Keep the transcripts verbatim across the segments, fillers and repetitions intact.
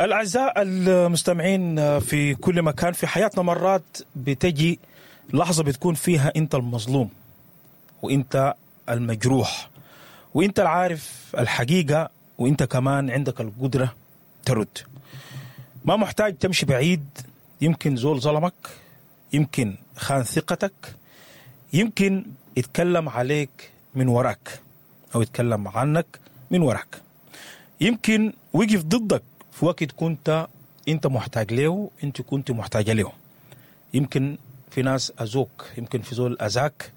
الأعزاء المستمعين في كل مكان في حياتنا، مرات بتجي لحظة بتكون فيها أنت المظلوم وأنت المجروح وأنت العارف الحقيقة، وأنت كمان عندك القدرة ترد. ما محتاج تمشي بعيد، يمكن زول ظلمك، يمكن خان ثقتك، يمكن يتكلم عليك من وراك أو يتكلم عنك من وراك، يمكن وقف ضدك في وقت كنت انت محتاج له، انت كنت محتاجه له. يمكن في ناس اذوك، يمكن في زول اذاك،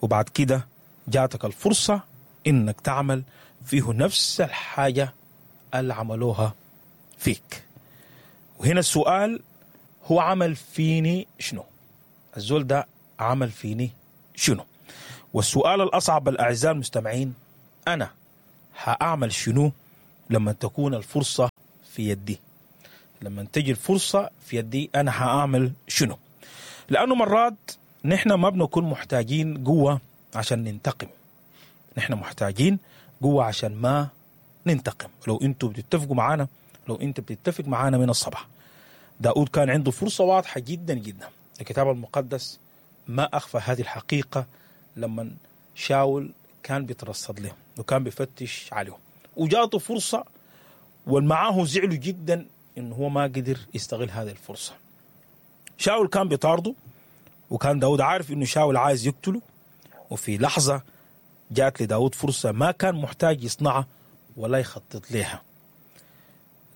وبعد كده جاتك الفرصة انك تعمل فيه نفس الحاجة اللي عملوها فيك. وهنا السؤال، هو عمل فيني شنو؟ الزول ده عمل فيني شنو؟ والسؤال الأصعب الأعزاء المستمعين، أنا هأعمل شنو لما تكون الفرصة في يدي؟ لما تجي الفرصة في يدي أنا هأعمل شنو؟ لأنه مرات نحن ما بنكون محتاجين قوة عشان ننتقم، نحن محتاجين قوة عشان ما ننتقم. لو أنتوا بتتفقوا معانا، لو أنت بتتفق معانا من الصباح، داود كان عنده فرصة واضحة جدا جدا. الكتاب المقدس ما أخفى هذه الحقيقة لما شاول كان بيترصد له وكان بيفتش عليه، وجاته فرصة والمعاه زعلوا جدا إنه هو ما قدر يستغل هذه الفرصة. شاول كان بيطارده، وكان داود عارف إنه شاول عايز يقتله، وفي لحظة جات لداود فرصة ما كان محتاج يصنعها ولا يخطط لها،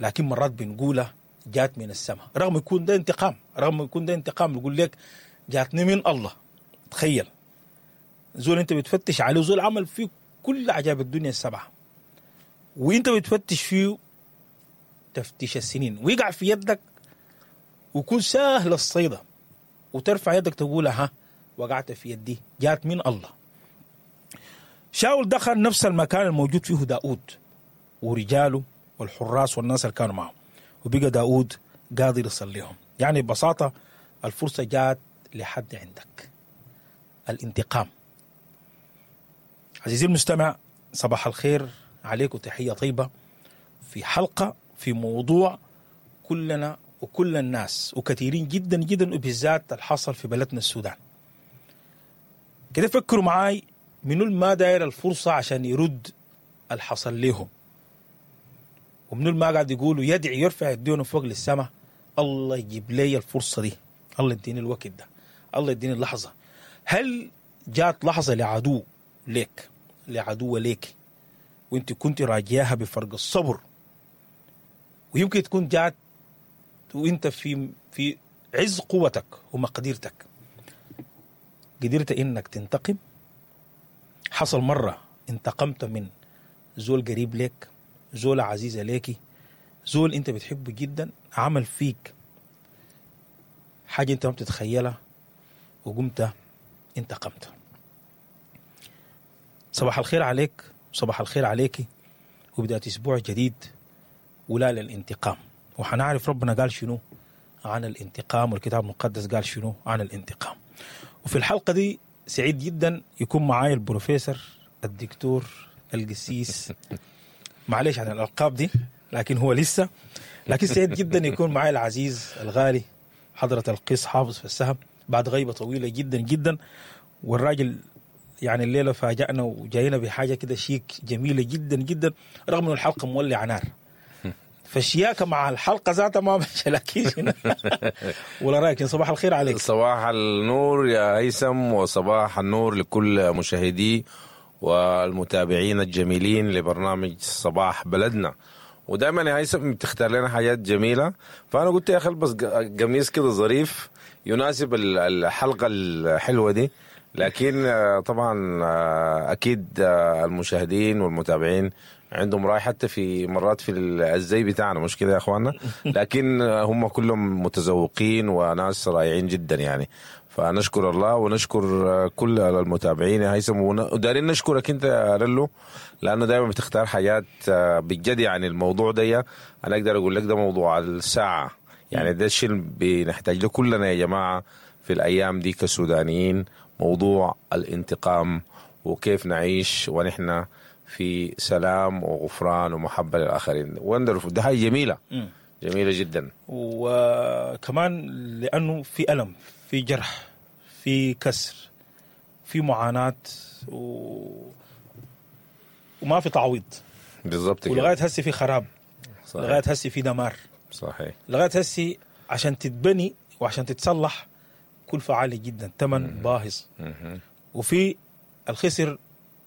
لكن مرات بنقولها جات من السماء، رغم يكون ده انتقام، رغم يكون ده انتقام يقول لك جاتني من الله. تخيل زول انت بتفتش عليه، زول عمل فيه كل عجائب الدنيا السبعة، وانت بتفتش فيه تفتيش السنين، ويقع في يدك ويكون سهل الصيدة، وترفع يدك تقول ها وقعت في يدي، جات من الله. شاول دخل نفس المكان الموجود فيه داود ورجاله والحراس والناس اللي كانوا معه، وبقى داود قادر يصليهم. يعني ببساطة الفرصة جات لحد عندك، الانتقام. عزيزي المستمع، صباح الخير عليك وتحية طيبة في حلقة في موضوع كلنا وكل الناس وكثيرين جدا جدا، وبالذات الحصل في بلدنا السودان. كده فكروا معاي، منو ما داير الفرصة عشان يرد الحصل لهم، ومنو ما قاعد يقولوا يدعي يرفع يدينه فوق للسماء، الله يجيب لي الفرصة دي، الله يديني الوقت ده، الله يديني اللحظة. هل جات لحظة لعدو ليك، لعدو ليك، وانت كنت راجياها بفرق الصبر، ويمكن تكون جات وانت في في عز قوتك ومقدرتك، قدرت انك تنتقم؟ حصل مرة انتقمت من زول قريب لك، زول عزيزة ليكي، زول انت بتحبه جدا، عمل فيك حاجة انت ما بتتخيلها، وقمت انتقمت؟ صباح الخير عليك، صباح الخير عليكي، وبداية اسبوع جديد ولا للانتقام. وحنعرف ربنا قال شنو عن الانتقام، والكتاب المقدس قال شنو عن الانتقام. وفي الحلقة دي سعيد جدا يكون معاي البروفيسور الدكتور القسيس، معليش عن الألقاب دي لكن هو لسه، لكن سعيد جدا يكون معاي العزيز الغالي حضرة القس حافظ في السهم بعد غيبة طويلة جدا جدا. والراجل يعني الليلة فاجأنا وجاينا بحاجة كده شيك جميلة جدا جدا، رغم أنه الحلقة مولعة نار، فالشياكة مع الحلقة ذاتها ما مش لكن ولا رأيك؟ صباح الخير عليك. صباح النور يا هيثم، وصباح النور لكل مشاهدي والمتابعين الجميلين لبرنامج صباح بلدنا. ودائما يا هيثم بتختار لنا حاجات جميلة، فأنا قلت يا أخي البس قميص كده ظريف يناسب الحلقة الحلوة دي. لكن طبعا أكيد المشاهدين والمتابعين عندهم رأي حتى في مرات في الزي بتاعنا، مش كده يا اخوانا؟ لكن هم كلهم متذوقين وناس رائعين جدا يعني، فنشكر الله ونشكر كل المتابعين يا هيثم، ودارين نشكرك انت يا رلو، لانه دائما بتختار حاجات بجد. يعني الموضوع ده انا اقدر اقول لك ده موضوع الساعة، يعني ده الشيء اللي بنحتاج له كلنا يا جماعة في الايام دي كسودانيين، موضوع الانتقام وكيف نعيش ونحن في سلام وغفران ومحبة للآخرين. وندرفul، ده حاجة جميلة. م. جميلة جدا. وكمان لانه في الم، في جرح، في كسر، في معاناة و... وما في تعويض. بالضبط كده. ولغاية هسه في خراب. صحيح. لغاية هسه في دمار. صحيح. لغاية هسه عشان تتبني وعشان تتصلح كلفه عالية جدا، ثمن باهظ. وفي الخسر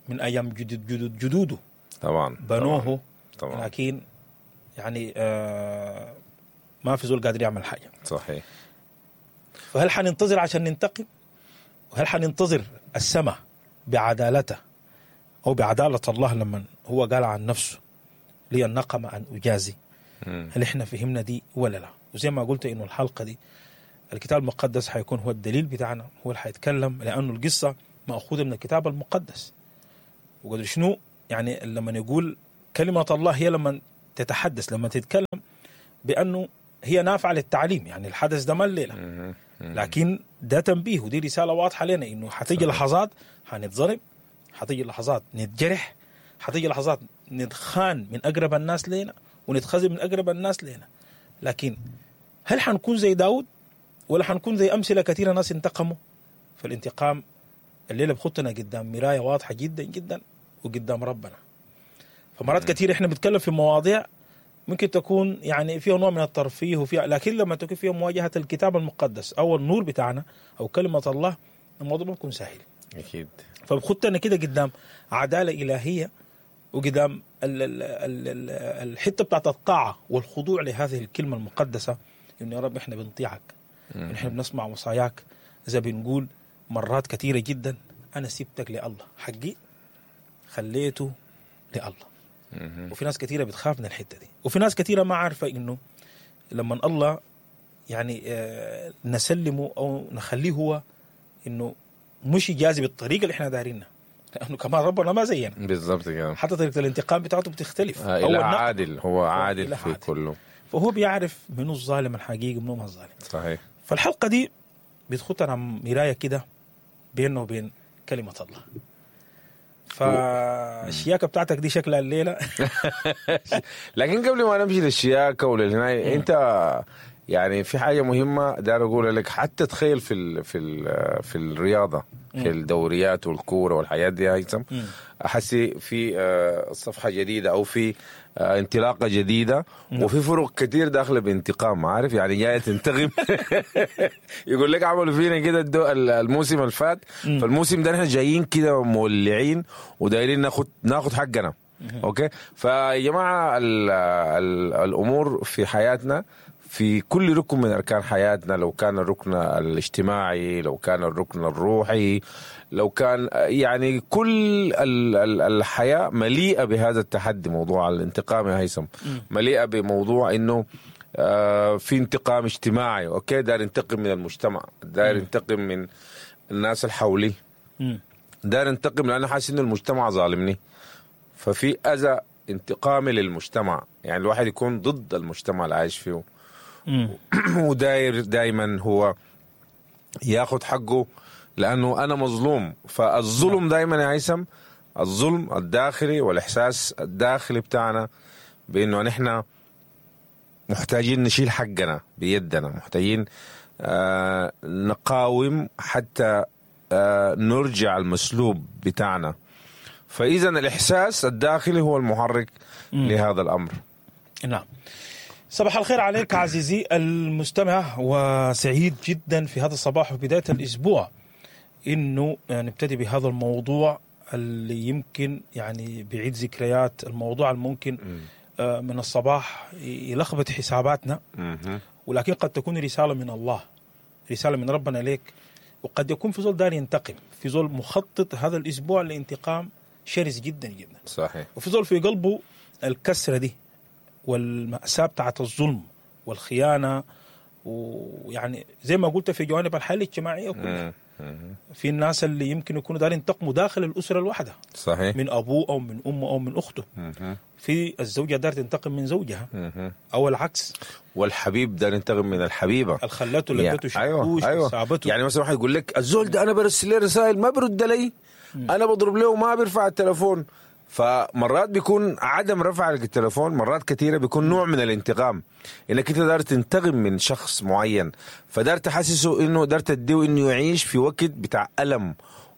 من ايام جدود جدود جدوده طبعا بنوه. طبعا. لكن يعني آه ما في زول قادر يعمل حاجة. صحيح. فهل حننتظر عشان ننتقم؟ وهل حننتظر السماء بعدالته او بعداله الله لما هو قال عن نفسه لي النقم ان اجازي؟ مم. هل احنا فهمنا دي ولا لا؟ وزي ما قلت انه الحلقة دي الكتاب المقدس حيكون هو الدليل بتاعنا، هو اللي حيتكلم، لانه القصة ماخوذة من الكتاب المقدس. وقدر شنو يعني لما نقول كلمة الله هي لما تتحدث، لما تتكلم بانه هي نافعة للتعليم، يعني الحدث ده ما الليلة، مم. لكن ده تنبيه ودي رسالة واضحة لنا انه حتيجي لحظات حنتظلم، حتيجي لحظات نتجرح، حتيجي لحظات نتخان من اقرب الناس لنا ونتخزن من اقرب الناس لنا. لكن هل حنكون زي داود ولا حنكون زي امثلة كثيرة ناس انتقموا؟ فالانتقام الليلة بخطنا قدام مراية واضحة جدا جدا وقدام ربنا. فمرات كثيرة احنا بنتكلم في مواضيع ممكن تكون يعني فيها نوع من الترفيه وفيها، لكن لما تكون فيها مواجهة الكتاب المقدس او النور بتاعنا او كلمة الله، الموضوع ما بيكون سهل. اكيد. فبخطنا كده قدام عدالة الهيه وقدام ال ال ال ال الحتة بتاعت الطاعة والخضوع لهذه الكلمة المقدسة، انه يا رب احنا بنطيعك، احنا بنسمع وصاياك. اذا بنقول مرات كثيرة جدا انا سبتك لله، حقي خليته لله. وفي ناس كثيرة بتخاف من الحتة دي، وفي ناس كثيرة ما عارفه انه لما الله يعني آه، نسلمه او نخليه هو، انه مش يجازي بالطريقة اللي احنا دايرينها، لانه كمان ربنا ما زينا، بالضبط كده. حتى طريقه الانتقام بتاعته بتختلف. آه، أو إله النقد. عادل، هو عادل إله في عادل. كله. فهو بيعرف منو الظالم الحقيقي ومنو ما الظالم. صحيح. فالحلقة دي بتخطنا مراية كده بينه وبين كلمة الله. فالشياكه بتاعتك دي شكلها الليلة. لكن قبل ما نمشي للشياكه وللهناي، انت يعني في حاجة مهمة داير اقولها لك. حتى تخيل في ال في ال في الرياضة، في الدوريات والكوره والحياة دي يا هيثم، احسي في آه، صفحة جديدة او في آه، انطلاقة جديدة، وفي فرق كتير داخله بانتقام، عارف يعني جاية تنتقم. يقول لك عملوا فينا كده الدو- الموسم اللي فات، فالموسم ده احنا جايين كده مولعين ودايرين ناخد ناخد حقنا. okay، فيا جماعة ال ال الامور في حياتنا، في كل ركن من اركان حياتنا، لو كان الركن الاجتماعي، لو كان الركن الروحي، لو كان يعني كل ال ال الحياة مليئة بهذا التحدي، موضوع الانتقام يا هيثم، مليئة بموضوع انه آه، في انتقام اجتماعي. okay، داير ينتقم من المجتمع، داير ينتقم من الناس اللي حولي، مم. داير انتقم لانه حاسس انه المجتمع ظالمني، ففي اذى انتقامي للمجتمع، يعني الواحد يكون ضد المجتمع اللي عايش فيه مم. وداير دايما هو ياخد حقه لانه انا مظلوم. فالظلم دايما يا هيثم، الظلم الداخلي والاحساس الداخلي بتاعنا بانه نحن محتاجين نشيل حقنا بيدنا، محتاجين آه نقاوم حتى آه نرجع المسلوب بتاعنا. فاذا الاحساس الداخلي هو المحرك لهذا الامر. نعم. صباح الخير عليك عزيزي المستمع، وسعيد جدا في هذا الصباح وبداية الأسبوع إنه نبتدي بهذا الموضوع اللي يمكن يعني بعيد ذكريات، الموضوع الممكن آه، من الصباح يلخبط حساباتنا، مهم. ولكن قد تكون رسالة من الله، رسالة من ربنا ليك. وقد يكون في زول دار ينتقم، في زول مخطط هذا الأسبوع لانتقام شرس جدا جدا، صحيح. وفي زول في قلبه الكسرة دي والمأساة بتاعت الظلم والخيانة، ويعني زي ما قلت في جوانب الحياة الاجتماعية كلها. مم. في الناس اللي يمكن يكونوا دارين ينتقموا داخل الأسرة الواحدة، صحيح. من أبوه أو من أمه أو من أخته. مهم. في الزوجة دار تنتقم من زوجها مهم. أو العكس، والحبيب ده ينتقم من الحبيبة. الخلته اللي ادته ايوه شاكوش ايوه سابته. يعني مثلا واحد يقول لك الزول ده انا برسل له رسائل ما برد لي، انا بضرب له وما بيرفع التليفون. فمرات بيكون عدم رفع التليفون مرات كثيرة بيكون نوع من الانتقام، انك انت دار تنتقم من شخص معين، فدار تحسسه انه دار تديه انه يعيش في وقت بتاع الم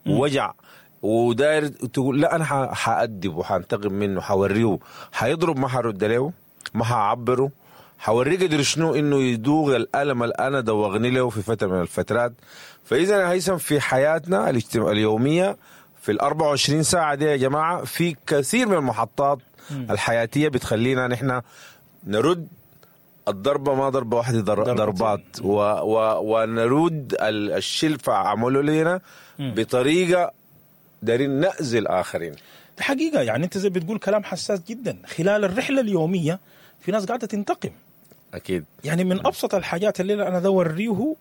ووجع، وداير تقول لا انا حأدبه وحانتقم منه، حورية حيضرب ما حرد له، ما حعبره، حورية قدر شنو انه يدوغ الالم اللي انا دوغني له في فترة من الفترات. فاذا هيثم في حياتنا اليومية في ال أربعة وعشرين ساعة دي يا جماعة في كثير من المحطات الحياتية بتخلينا نحن نرد الضربة، ما ضربه واحدة، ضربات، و و ونرد الشلفه عملوا لنا بطريقة دارين نأذي الاخرين. حقيقة يعني انت زي بتقول كلام حساس جدا. خلال الرحلة اليومية في ناس قاعدة تنتقم. اكيد. يعني من ابسط الحاجات اللي انا اوريه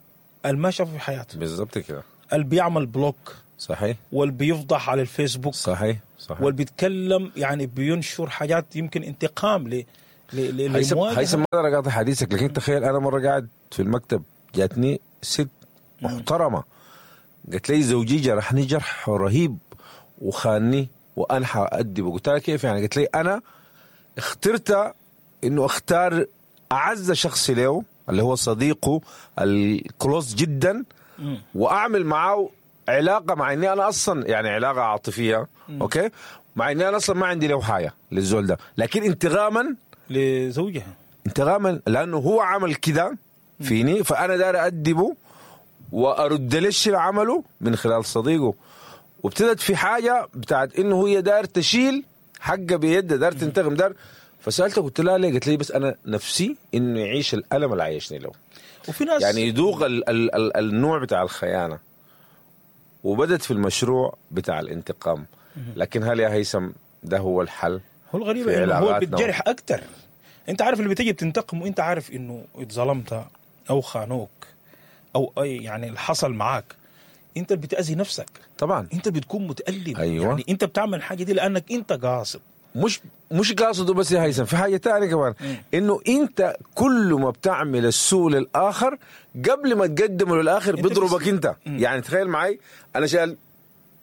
الما شافه في حياته. بالضبط كده. اللي بيعمل block، صحيح، واللي بيفضح على الفيسبوك، صحيح صحيح، واللي بيتكلم يعني بينشر حاجات يمكن انتقام ل ل للمواجهه. هيثم ما اقدر اقاطع حديثك، لكن تخيل انا مرة قاعد في المكتب جاتني ست محترمه قالت لي زوجي جرحني جرح رهيب وخاني وانا حأدبه. قلت لها كيف يعني؟ قالت لي انا اخترت انه اختار اعز شخص له اللي هو صديقه الكلوز جدا واعمل معه علاقة، مع اني انا اصلا يعني علاقة عاطفية، okay، مع اني انا اصلا ما عندي له حاجة للزول ده، لكن انتقاما لزوجها، انتقاما لانه هو عمل كده فيني، فانا داير ادبه وارد ليش اللي عمله من خلال صديقه. وابتدت في حاجة بتاعت انه هي داير تشيل حقه بيده، داير تنتقم، داير. فسالته قلت لها ليه؟ قلت لي بس انا نفسي انه يعيش الالم اللي عايشني له، وفي ناس يعني يذوق ال ال ال النوع بتاع الخيانة. وبدت في المشروع بتاع الانتقام. لكن هل يا هيثم ده هو الحل؟ هو الغريب انه هو بتجرح اكتر. انت عارف اللي بتيجي بتنتقم وانت عارف انه اتظلمت او خانوك او اي يعني اللي حصل معاك، انت اللي بتأذي نفسك طبعا، انت بتكون متألم. أيوة. يعني انت بتعمل حاجة دي لانك انت قاصد، مش مش قاصده بس يا هيثم، في حاجة ثانية كمان، انه انت كل ما بتعمل السوء للاخر قبل ما تقدمه للاخر بيضربك انت. مم. يعني تخيل معي انا شايل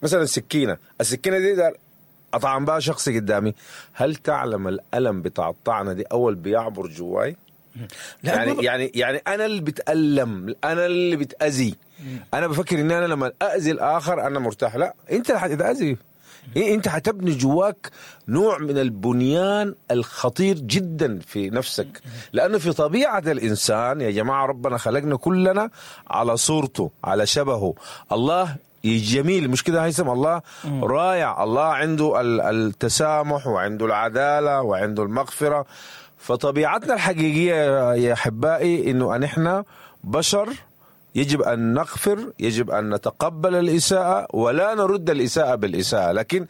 مثلا سكينة، السكينة دي دار اطعن بها شخص قدامي، هل تعلم الالم بتاع الطعنه دي اول بيعبر جواي؟ يعني يعني يعني انا اللي بتألم، انا اللي بتأذي. انا بفكر ان انا لما اذي الاخر انا مرتاح، لا، انت اللي حتتأذي. إيه، انت حتبني جواك نوع من البنيان الخطير جدا في نفسك، لانه في طبيعة الانسان يا جماعة ربنا خلقنا كلنا على صورته، على شبهه. الله جميل، مش كده هيثم؟ الله رائع، الله عنده التسامح وعنده العدالة وعنده المغفرة. فطبيعتنا الحقيقية يا احبائي انه نحن بشر يجب أن نغفر، يجب أن نتقبل الإساءة ولا نرد الإساءة بالإساءة. لكن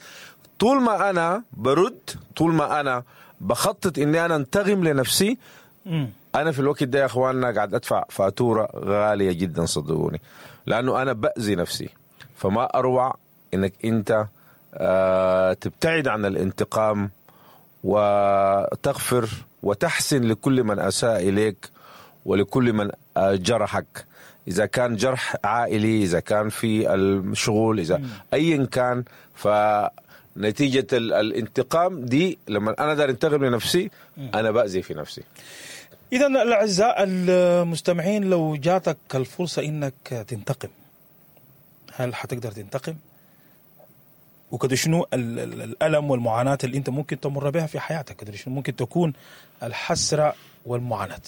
طول ما أنا برد، طول ما أنا بخطط إني أنا انتقم لنفسي، أنا في الوقت ده يا أخواننا قاعد أدفع فاتورة غالية جدا صدقوني، لأنه أنا بأذي نفسي. فما أروع إنك أنت آه تبتعد عن الانتقام وتغفر وتحسن لكل من أساء إليك ولكل من جرحك، إذا كان جرح عائلي، إذا كان في الشغل، إذا أيا كان. فنتيجة الانتقام دي لما أنا دار انتقم لنفسي أنا بأذي في نفسي. إذا الأعزاء المستمعين، لو جاتك الفرصة إنك تنتقم، هل حتقدر تنتقم؟ وكده شنو الألم والمعاناة اللي أنت ممكن تمر بها في حياتك؟ كده شنو ممكن تكون الحسرة والمعاناة؟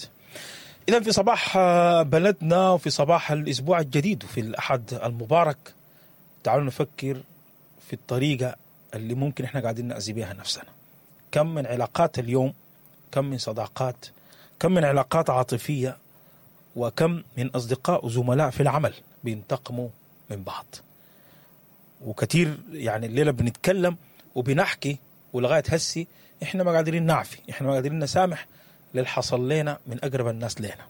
إذن في صباح بلدنا وفي صباح الأسبوع الجديد وفي الأحد المبارك، تعالوا نفكر في الطريقة اللي ممكن إحنا قاعدين نأذي بها نفسنا. كم من علاقات اليوم، كم من صداقات، كم من علاقات عاطفية، وكم من أصدقاء وزملاء في العمل بينتقموا من بعض. وكثير يعني الليلة بنتكلم وبنحكي ولغاية هسي إحنا ما قادرين نعفي، إحنا ما قادرين نسامح للحصل لنا من أقرب الناس لنا.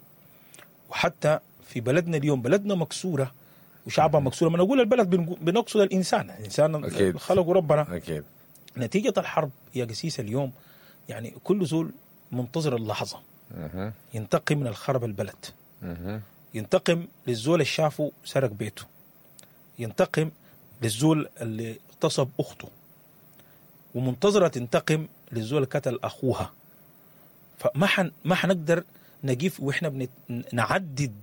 وحتى في بلدنا اليوم، بلدنا مكسورة وشعبها مكسورة. ما نقول البلد بنقصد الإنسان، الإنسان خلقه ربنا. أكيد. نتيجة الحرب يا قسيس اليوم يعني كل زول منتظر اللحظة ينتقم من الخرب البلد، ينتقم للزول اللي شافه سرق بيته، ينتقم للزول اللي اغتصب أخته، ومنتظره تنتقم للزول قتل اخوها. فما حن ما حنقدر نقيف واحنا بنت... نعدد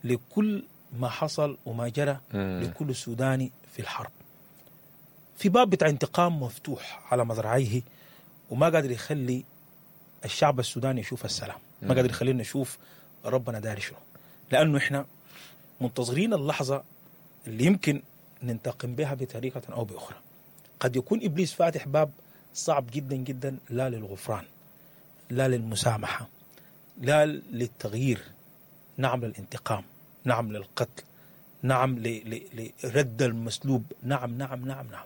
لكل ما حصل وما جرى لكل سوداني في الحرب. في باب بتاع انتقام مفتوح على مذرعيه وما قادر يخلي الشعب السوداني يشوف السلام، ما قادر يخلينا نشوف ربنا داري شنو، لانه احنا منتظرين اللحظة اللي يمكن ننتقم بها بطريقة او باخرى. قد يكون ابليس فاتح باب صعب جدا جدا، لا للغفران، لا للمسامحه، لا للتغيير، نعم للانتقام، نعم للقتل، نعم لرد المسلوب، نعم نعم نعم نعم.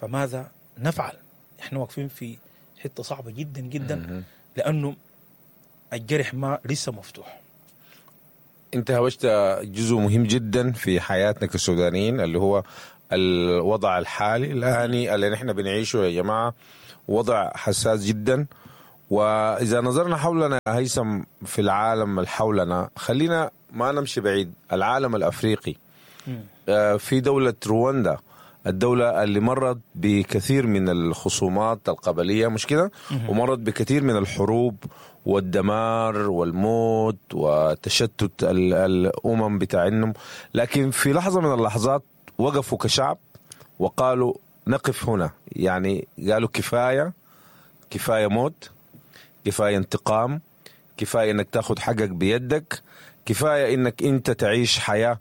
فماذا نفعل؟ احنا واقفين في حتة صعبة جدا جدا، لانه الجرح ما لسه مفتوح. انت هوشت جزء مهم جدا في حياتنا كسودانيين، اللي هو الوضع الحالي الآني اللي نحن بنعيشه يا جماعة، وضع حساس جدا. وإذا نظرنا حولنا هيثم في العالم اللي حولنا، خلينا ما نمشي بعيد، العالم الأفريقي، في دولة رواندا، الدولة اللي مرت بكثير من الخصومات القبلية، مش كده؟ ومرت بكثير من الحروب والدمار والموت وتشتت الأمم بتاعهم، لكن في لحظة من اللحظات وقفوا كشعب وقالوا نقف هنا. يعني قالوا كفاية، كفاية موت، كفاية انتقام، كفاية انك تاخد حقك بيدك، كفاية انك انت تعيش حياة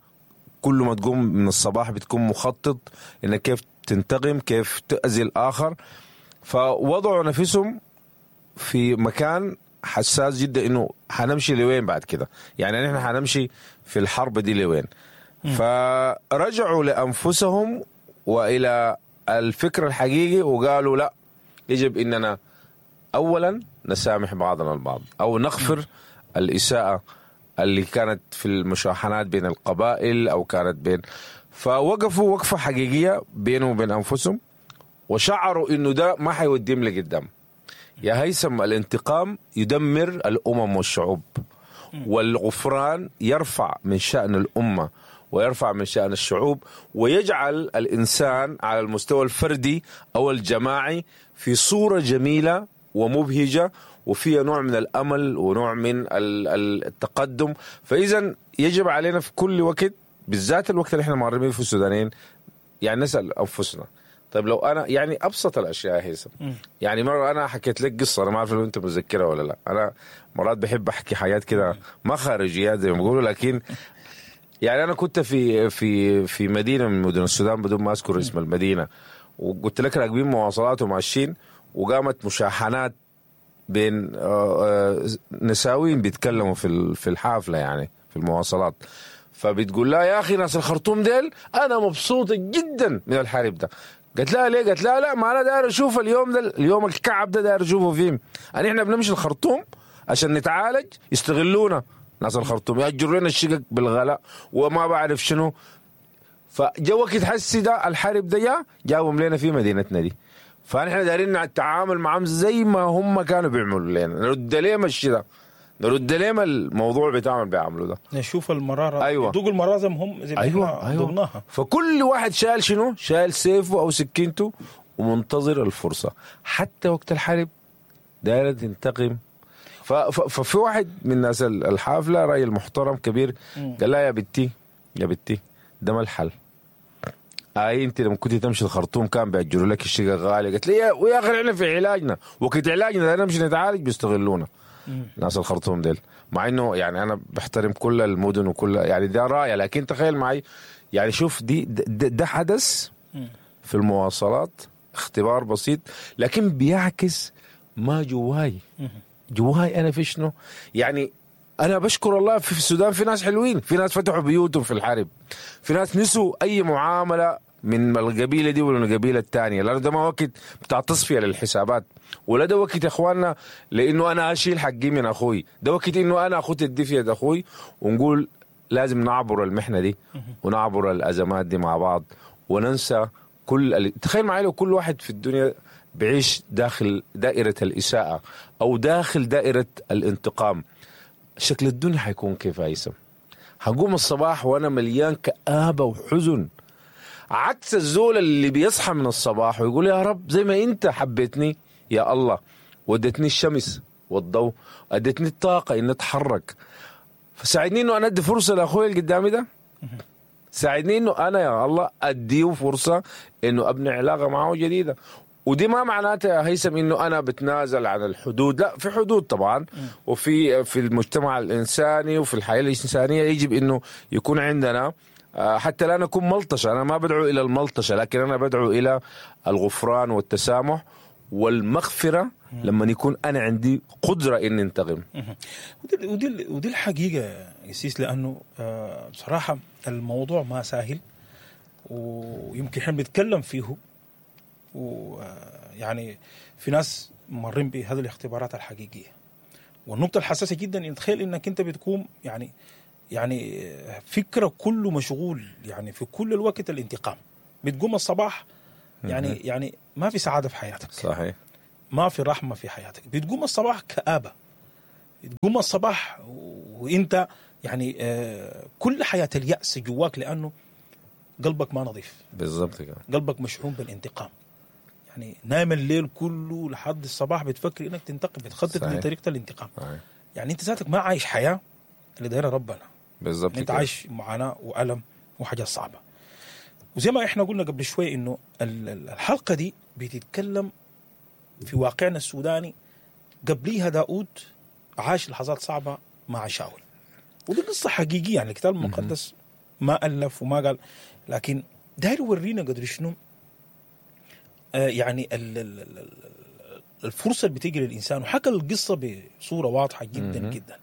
كل ما تقوم من الصباح بتكون مخطط انك كيف تنتقم، كيف تأذي الآخر. فوضعوا نفسهم في مكان حساس جدا، انه حنمشي لوين بعد كده؟ يعني نحن حنمشي في الحرب دي لوين؟ فرجعوا لأنفسهم وإلى الفكر الحقيقي وقالوا لا، يجب إننا أولا نسامح بعضنا البعض، أو نغفر الإساءة اللي كانت في المشاحنات بين القبائل أو كانت بين. فوقفوا وقفة حقيقية بينهم وبين أنفسهم، وشعروا إنه ده ما حيوديهم لقدام. يا هيثم، الانتقام يدمر الأمم والشعوب، والغفران يرفع من شأن الأمة ويرفع من شأن الشعوب، ويجعل الإنسان على المستوى الفردي أو الجماعي في صورة جميلة ومبهجة، وفيها نوع من الأمل ونوع من التقدم. فإذا يجب علينا في كل وقت، بالذات الوقت اللي احنا معربين في السودانيين، يعني نسأل أنفسنا، طيب لو أنا يعني أبسط الأشياء هيثم، يعني مرة أنا حكيت لك قصة، أنا ما أعرف لو أنت متذكرها ولا لا، أنا مرات بحب أحكي حاجات كده ما خارجيات زي ما بيقولوا، لكن يعني أنا كنت في في في مدينة من مدن السودان بدون ما أذكر اسم المدينة، وقلت لك راكبين مواصلات وماشيين، وقامت مشاحنات بين نساوين بيتكلموا في في الحافلة، يعني في المواصلات. فبتقول لها يا أخي ناس الخرطوم ديل أنا مبسوطة جدا من الحرب ده. قلت لها ليه؟ قلت لها لا، ما أنا داير أشوف اليوم ده، اليوم الكعب ده داير أشوفه فيه. أنا إحنا بنمشي الخرطوم عشان نتعالج، يستغلونا ناس الخرطوم، يأجروا لنا الشقق بالغلاء وما بعرف شنو. فجا وقت حسي ده الحرب ده جا جابهم لنا في مدينتنا دي، فنحن دايرين نتعامل معهم زي ما هم كانوا بيعملوا لنا، نرد لهم الشيء ده، نرد لهم الموضوع بتاعهم بيعملوا ده، نشوف المرارة. أيوة. دوق المرارة زي ما هم زي ما أيوة. أيوة. دوقناها. فكل واحد شال شنو؟ شال سيفه أو سكينته ومنتظر الفرصة حتى وقت الحرب دايرة تنتقم. ففي واحد من الناس الحافلة، راجل محترم كبير، قال لها يا بنتي يا بنتي ده ما الحل. اي انت لما كنت تمشي الخرطوم كان بيأجروا لك الشقة غالية. قلت لي ويا اخي احنا في علاجنا، وقت علاجنا ده نمشي نتعالج بيستغلونا ناس الخرطوم ديل. مع انه يعني انا بحترم كل المدن وكل يعني ده رايه، لكن تخيل معي يعني شوف دي ده, ده حدث في المواصلات، اختبار بسيط لكن بيعكس ما جواي. جواي انا في شنو؟ يعني انا بشكر الله في السودان في ناس حلوين، في ناس فتحوا بيوتهم في الحرب، في ناس نسوا اي معاملة من القبيلة دي ولا القبيلة الثانية، لانه ده ما وقت بتاع تصفية للحسابات، ولا ده وقت يا اخواننا لانه انا اشيل حقي من اخوي، ده وقت انه انا اخد الدفيه ده اخوي ونقول لازم نعبر المحنة دي ونعبر الازمات دي مع بعض وننسى كل ال... تخيل معي لو كل واحد في الدنيا بعيش داخل دائرة الاساءة او داخل دائرة الانتقام، شكل الدنيا حيكون كيف هيثم؟ هقوم الصباح وانا مليان كآبة وحزن، عكس الزول اللي بيصحى من الصباح ويقول يا رب زي ما انت حبيتني يا الله، ودتني الشمس والضوء، ادتني الطاقة اني اتحرك، فساعدني انه انا ادي فرصة لاخوي اللي قدامي ده، ساعدني انه انا يا الله اديه فرصة انه ابني علاقة معه جديدة. ودي ما معناتها يا هيثم انه انا بتنازل عن الحدود، لا، في حدود طبعا، وفي في المجتمع الانساني وفي الحياة الانسانية يجب انه يكون عندنا، حتى لا نكون ملطشه. انا ما بدعو الى الملطشه، لكن انا بدعو الى الغفران والتسامح والمغفرة لما يكون انا عندي قدره اني انتقم. ودي ودي ودي الحقيقة يا سيس، لانه بصراحة الموضوع ما سهل، ويمكن احنا بنتكلم فيه، ويعني في ناس مرين بهذه الاختبارات الحقيقية. والنقطة الحساسة جدا ان تخيل انك انت بتكون يعني يعني فكرة كله مشغول يعني في كل الوقت الانتقام، بتقوم الصباح يعني يعني ما في سعادة في حياتك، صحيح، ما في رحمه في حياتك، بتقوم الصباح كآبه، بتقوم الصباح وانت يعني كل حياة اليأس جواك، لانه قلبك ما نظيف. بالضبط كده، قلبك مشحون بالانتقام، يعني نايم الليل كله لحد الصباح بتفكر انك تنتقم، بتخطط لطريقه الانتقام. صحيح. يعني انت ذاتك ما عايش حياة اللي دايرة ربنا. بالضبط، انت عايش معاناة والم وحاجات صعبة. وزي ما احنا قلنا قبل شوي انه الحلقة دي بتتكلم في واقعنا السوداني. قبليها داود عاش لحظات صعبة مع شاول، ودي قصة حقيقية، يعني الكتاب المقدس ما الف وما قال، لكن داير يورينا قدر شنو آه يعني ال ال الفرصة اللي بتيجي للانسان، وحكى القصة بصورة واضحة جدا جدا،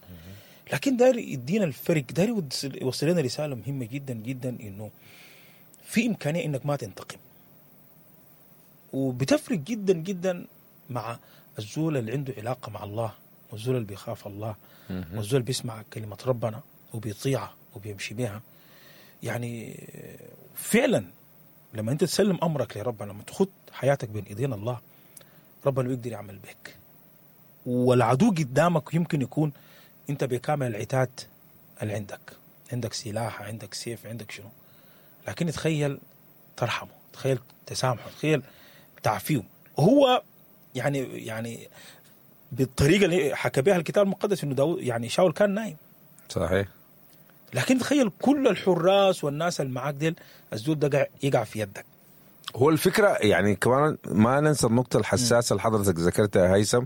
لكن داير يدينا الفرق، داير يوصل لنا رسالة مهمة جدا جدا، انه في امكانية انك ما تنتقم، وبتفرق جدا جدا مع الزول اللي عنده علاقة مع الله، والزول اللي بيخاف الله، والزول اللي بيسمع كلمة ربنا وبيطيعها وبيمشي بها. يعني فعلا لما انت تسلم امرك لربنا، لما تخط حياتك بين ايدين الله، ربنا بيقدر يعمل بك، والعدو قدامك يمكن يكون انت بكامل العتاد اللي عندك، عندك سلاح، عندك سيف، عندك شنو، لكن تخيل ترحمه، تخيل تسامحه، تخيل تعفيه. هو يعني يعني بالطريقة اللي حكى بها الكتاب المقدس انه داود يعني شاول كان نايم. صحيح. لكن تخيل كل الحراس والناس اللي معاك ديل، الزول ده يقع في يدك. هو الفكرة يعني كمان ما ننسى النقطة الحساسة اللي حضرتك ذكرتها يا هيثم،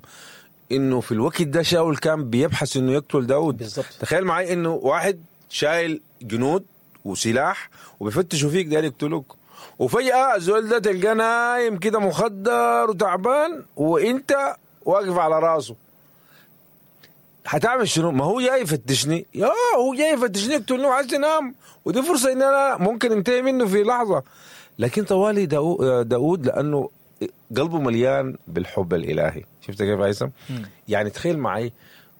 انه في الوقت ده شاول كان بيبحث انه يقتل داود. بالضبط. تخيل معي انه واحد شايل جنود وسلاح وبيفتشوا فيك داير يقتلوك، وفجأة الزول ده تلقاه نايم كده مخدر وتعبان وانت واقف على راسه. هتعمل شنو؟ ما هو جاي يفتشني، يا هو جاي يفتشني يقتلني وعايز ينام، ودي فرصة ان انا ممكن انتهي منه في لحظة. لكن طوالي داود لانه قلبه مليان بالحب الالهي. شفت كيف هيثم؟ يعني تخيل معي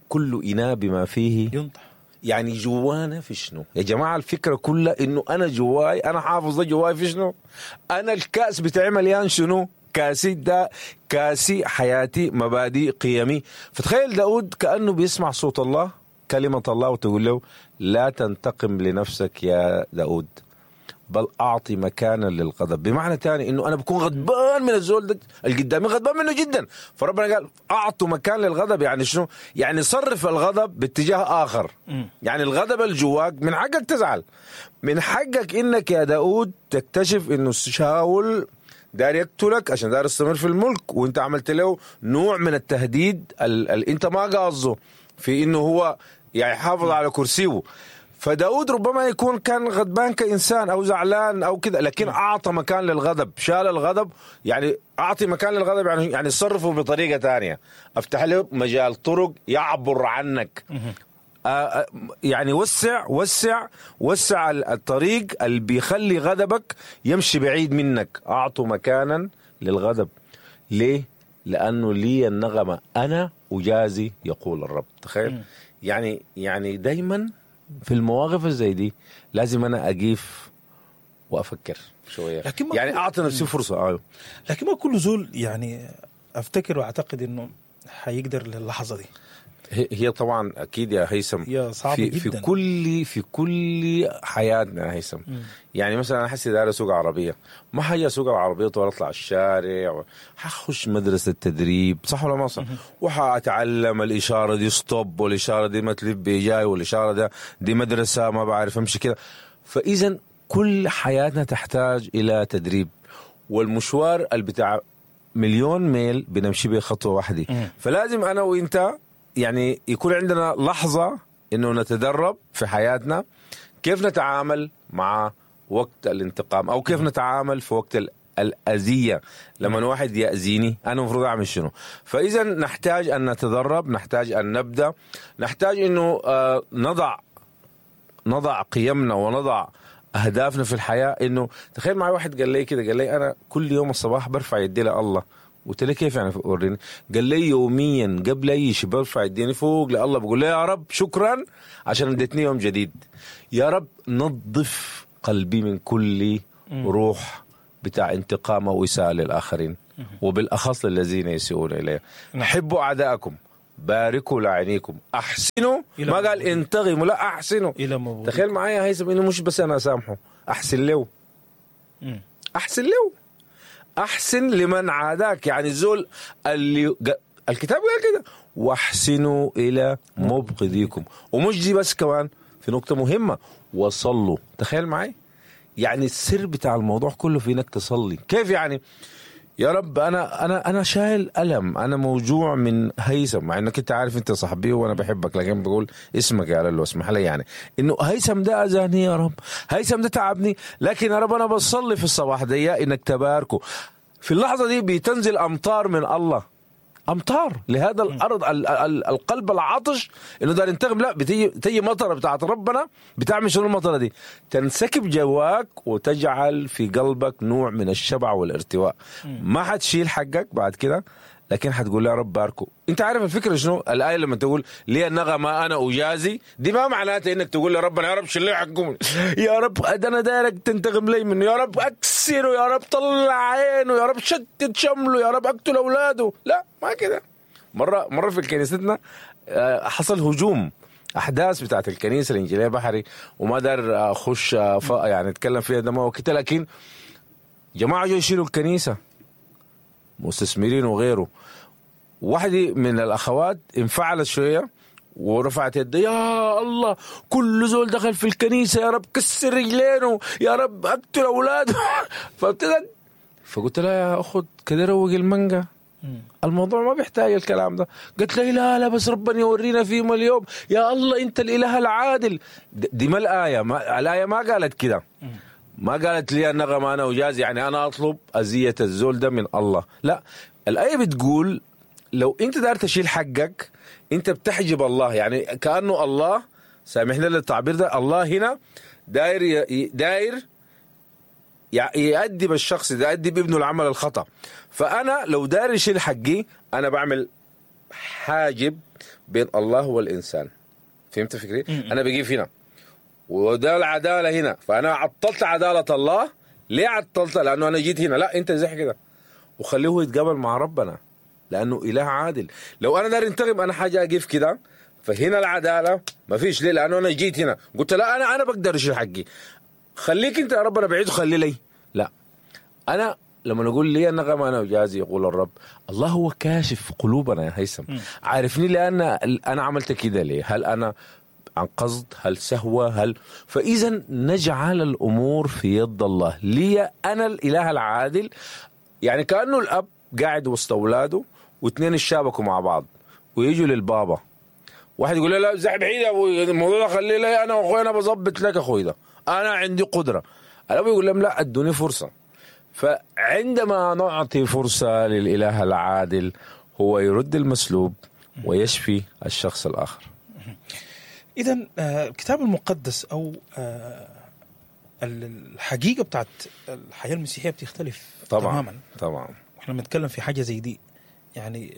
كل اناء بما فيه ينطح. يعني جوانا في شنو يا جماعة؟ الفكرة كلها انه انا جواي، انا حافظ ده جواي في شنو، انا الكأس بتاعي مليان شنو، كاسي ده كاسي حياتي، مبادئ، قيمي. فتخيل داود كأنه بيسمع صوت الله، كلمة الله، وتقول له لا تنتقم لنفسك يا داود، بل أعطي مكانا للغضب. بمعنى تاني إنه أنا بكون غضبان من الزول ده اللي قدامي، غضبان منه جدا، فربنا قال أعطوا مكان للغضب. يعني شنو؟ يعني صرف الغضب باتجاه آخر. يعني الغضب اللي جواك من حقك تزعل، من حقك إنك يا داود تكتشف إنه شاول دار يقتلك عشان دار يستمر في الملك، وانت عملت له نوع من التهديد اللي انت ما قاصده في انه هو يعني حافظ على كرسيه. فداود ربما يكون كان غضبان كإنسان أو زعلان أو كذا، لكن أعطى مكان للغضب، شال الغضب. يعني أعطي مكان للغضب يعني يعني صرفه بطريقة تانية، أفتح له مجال طرق يعبر عنك. آه يعني وسع وسع وسع الطريق اللي بيخلي غضبك يمشي بعيد منك. أعطوا مكانا للغضب. ليه؟ لأنه لي النغمة أنا أجازي يقول الرب. تخيل يعني يعني دايما في المواقف زي دي لازم أنا أقيف وأفكر شوية، يعني أعطي نفسي فرصة. آه. لكن ما كل زول يعني أفتكر وأعتقد إنه حيقدر للحظة دي. هي هي طبعا اكيد يا هيثم هي صعبة في جدا. في كل في كل حياتنا يا هيثم. يعني مثلا انا حسي داير اسوق عربية، ما حاجي اسوق العربية ولا اطلع الشارع، حخش مدرسه تدريب، صح ولا ما صح؟ وحاتعلم الاشارة دي stop، والاشارة دي ما تلف جاي، والاشارة ده دي مدرسه ما بعرف امشي كده. فاذا كل حياتنا تحتاج الى تدريب، والمشوار اللي بتاع مليون ميل بنمشي به خطوة واحدة. فلازم انا وانت يعني يكون عندنا لحظة إنه نتدرب في حياتنا كيف نتعامل مع وقت الانتقام، أو كيف نتعامل في وقت الأذية. لما واحد يأذيني أنا المفروض أعمل شنو؟ فإذا نحتاج أن نتدرب، نحتاج أن نبدأ، نحتاج إنه نضع نضع قيمنا ونضع أهدافنا في الحياة. إنه تخيل معي واحد قال لي كده، قال لي أنا كل يوم الصباح برفع يدي لله. قلت له كيف يعني وريني؟ قال لي يوميا قبل اي شيء برفع يديني فوق لله، بقول له يا رب شكرا عشان اديتني يوم جديد، يا رب نظف قلبي من كل روح بتاع انتقام او اساءه للاخرين، وبالاخص للذين يسيئون الي. حبوا اعداءكم، باركوا لعينيكم، احسنوا. ما قال انتقموا، لا احسنوا. تخيل معايا هيثم انه مش بس انا اسامحه، احسن له، احسن له، أحسن لمن عاداك. يعني الزول اللي الكتاب قال كده، واحسنوا إلى مبغضيكم. ومش دي بس، كمان في نقطة مهمة، وصلوا. تخيل معي يعني السر بتاع الموضوع كله في إنك تصلي. كيف يعني؟ يا رب أنا أنا أنا شايل ألم، أنا موجوع من هيثم، مع إنك أنت عارف أنت صاحبي وأنا بحبك، لكن بقول اسمك يا لولو اسمح لي، يعني إنه هيثم ده أذاني يا رب، هيثم ده تعبني، لكن يا رب أنا بصلي في الصباح دي إنك تباركه. في اللحظة دي بتنزل أمطار من الله، أمطار لهذا الأرض، ال ال القلب العطش إنه دار ينتقم. لا، بتيجي تيجي مطرة بتاعت ربنا، بتعمل شنو المطرة دي؟ تنسكب جواك وتجعل في قلبك نوع من الشبع والارتواء. ما حتشيل حقك بعد كده، لكن حتقول يا رب باركو. انت عارف الفكرة شنو؟ الآية لما تقول لي النغمة أنا أجازي، دي ما معناتها إنك تقول يا ربنا يا رب شيل لي حقهم، يا رب ده أنا دايرك تنتقم لي منه، يا رب أكسره، يا رب طلع عينه، يا رب شتت شمله، يا رب أقتل أولاده. لا، ما كده. مرة مرة في كنيستنا حصل هجوم، أحداث بتاعت الكنيسة الإنجيلية بحري، وما دار أخش يعني أتكلم فيها ده ما وكده، لكن جماعة جو يشيلوا الكنيسة، مستثمرين وغيره. واحدة من الأخوات انفعلت شوية ورفعت يدها، يا الله كل زول دخل في الكنيسة يا رب كسر رجلينه، يا رب أقتل أولاده. فابتدت، فقلت لها يا أخت كده روق المانجا، الموضوع ما بيحتاج الكلام ده. قلت لي لا لا بس ربنا يورينا فيهم اليوم، يا الله أنت الإله العادل. دي ما الآية، ما الآية ما قالت كده، ما قالت لي النغمة أنا أجازي، يعني أنا أطلب أذية الزول ده من الله. لا، الآية بتقول لو أنت دار تشيل حقك أنت بتحجب الله، يعني كأنه الله، سامحنا للتعبير ده، الله هنا داير داير يأدب الشخص ده، يأدب ابنه العمل الخطأ. فأنا لو داير يشيل حقي أنا بعمل حاجب بين الله والإنسان. فهمت فكري؟ أنا بجيب هنا وده العدالة هنا، فأنا عطلت عدالة الله. ليه عطلتها؟ لأنه أنا جيت هنا. لا، أنت زي كده وخليه يتقابل مع ربنا، لأنه إله عادل. لو أنا دار انتقم أنا حاجة أقف كده، فهنا العدالة ما فيش. ليه؟ لأنه أنا جيت هنا قلت لا أنا أنا بقدر أشيل حقي، خليك أنت يا ربنا بعيد وخلي لي. لا، أنا لما نقول لي النغمة أنا وجازي، يقول الرب الله هو كاشف قلوبنا يا هيثم، عارفني لأن أنا عملت كده ليه، هل أنا عن قصد، هل سهوة، هل. فإذا نجعل الأمور في يد الله. لي أنا الإله العادل، يعني كأنه الأب قاعد وسط أولاده واثنين يشابكوا مع بعض ويجوا للبابا، واحد يقول له لا زح بعيد يا أبوي، الموضوع ده خليه لي أنا وأخوي، أنا بظبط لك أخوي ده، أنا عندي قدرة. الأب يقول لهم لا أدوني فرصة. فعندما نعطي فرصة للإله العادل هو يرد المسلوب ويشفي الشخص الآخر. إذا الكتاب المقدس أو الحقيقة بتاعت الحياة المسيحية بتختلف طبعا تماما. طبعا احنا بنتكلم في حاجة زي دي، يعني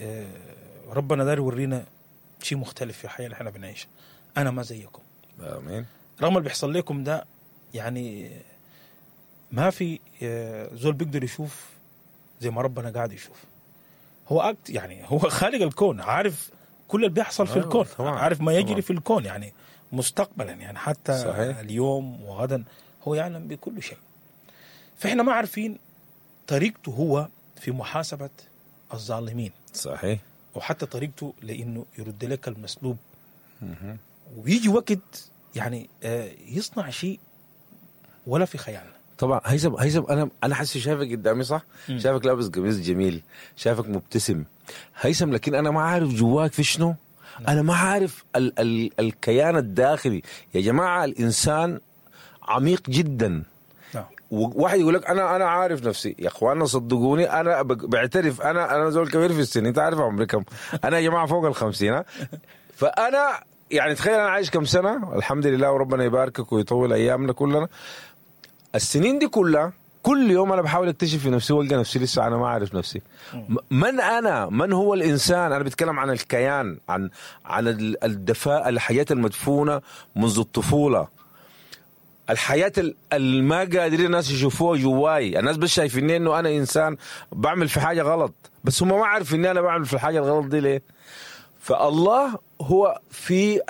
ربنا دار يورينا شيء مختلف في الحياة اللي احنا بنعيشها. أنا ما زيكم، آمين. رغم اللي بيحصل لكم ده، يعني ما في زول بيقدر يشوف زي ما ربنا قاعد يشوف. هو أكت يعني هو خالق الكون، عارف كل اللي بيحصل في أيوة، الكون، طبعاً، عارف ما يجري طبعاً. في الكون يعني مستقبلا، يعني حتى صحيح. اليوم وغدا هو يعلم بكل شيء. فإحنا ما عارفين طريقته هو في محاسبة الظالمين، صحيح. وحتى طريقته لانه يرد لك المسلوب. ويجي وقت يعني آه، يصنع شيء ولا في خيالنا. طبعا هيثم، هيثم انا انا حاسس شايفك قدامي صح؟ شايفك لابس قميص جميل، شايفك مبتسم هيثم، لكن انا ما عارف جواك في شنو. انا ما عارف ال ال الكيان الداخلي يا جماعة. الانسان عميق جدا. نعم. وواحد يقول لك انا انا عارف نفسي. يا اخوانا صدقوني انا بق- بعترف، انا انا زول كبير في السن، انت عارف عمري كم؟ انا يا جماعة فوق الخمسين، ها؟ فانا يعني تخيل انا عايش كم سنة، الحمد لله وربنا يباركك ويطول ايامنا كلنا. السنين دي كلها كل يوم انا بحاول اكتشف في نفسي والقى نفسي لسه انا ما عارف نفسي. م- من انا؟ من هو الانسان؟ انا بتكلم عن الكيان، عن عن ال- الدفاء، الحياة المدفونه منذ الطفولة، الحياة اللي ما قادرين الناس يشوفوها جواي. الناس بس شايفيني انه انا انسان بعمل في حاجة غلط، بس هم ما عارفين اني انا بعمل في الحاجة الغلط دي ليه. فالله هو في